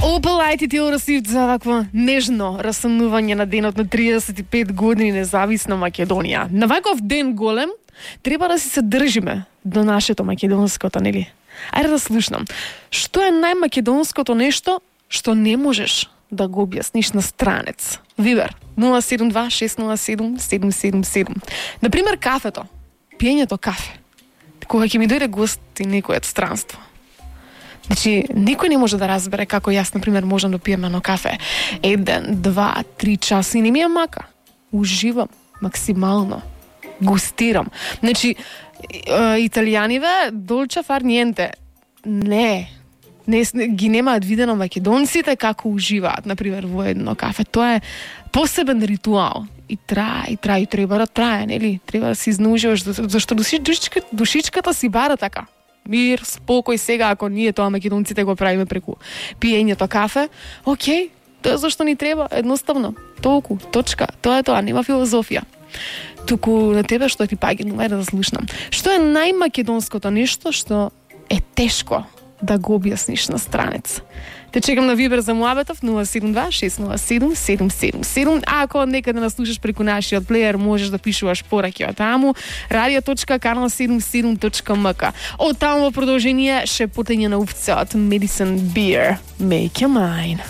Опалајте ти Оросив за вакво нежно расамнување на денот на 35 години независна Македонија. На ваков ден голем треба да се држиме до нашето македонското, нели? Ајде да слушнам. Што е најмакедонското нешто што не можеш да го објасниш на странец? Вибер 072-607-777. Например, кафето. Пиењето кафе. Кога ќе ми дојде гост и некој од странство. Значи, никој не може да разбере како јас, например, можам да пием едно кафе 1, 2, 3 часа и не ми е мака. Уживам максимално. Густирам. Значи, италијаниве долче фар ниенте. Не ги немаат видено македонците како уживаат, например, во едно кафе. Тоа е посебен ритуал. И трае, и треба да трае, нели? Треба да се изнуживаш, зашто душичката си бара така. Мир, спокој сега, ако ние тоа македонците го правиме преку пиењето кафе, окей, тоа зашто ни треба, едноставно, толку, точка, тоа е тоа, нема филозофија. Туку на тебе што ти паѓа, ајде да слушнам. Што е најмакедонското нешто што е тешко да го објасниш на странец? Те чекам на Вибер за муабетов 072-607-777. А ако некаде нас слушаш преку нашиот плеер, можеш да пишуваш пораки од таму radio.kanal77.mk. Од таму во продолжение шепотење на увце од Medicine Beer. Make your mind.